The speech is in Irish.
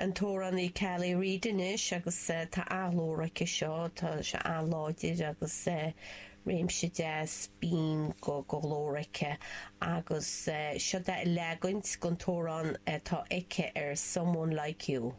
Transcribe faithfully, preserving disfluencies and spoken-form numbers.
An t-amhránaí Kelly Reid anois agus tá an-ghlór aici seo, tá sé an-láidir agus réimse deas binn de ghlór aici agus seo é leagan den amhrán atá aici ar Someone Like You.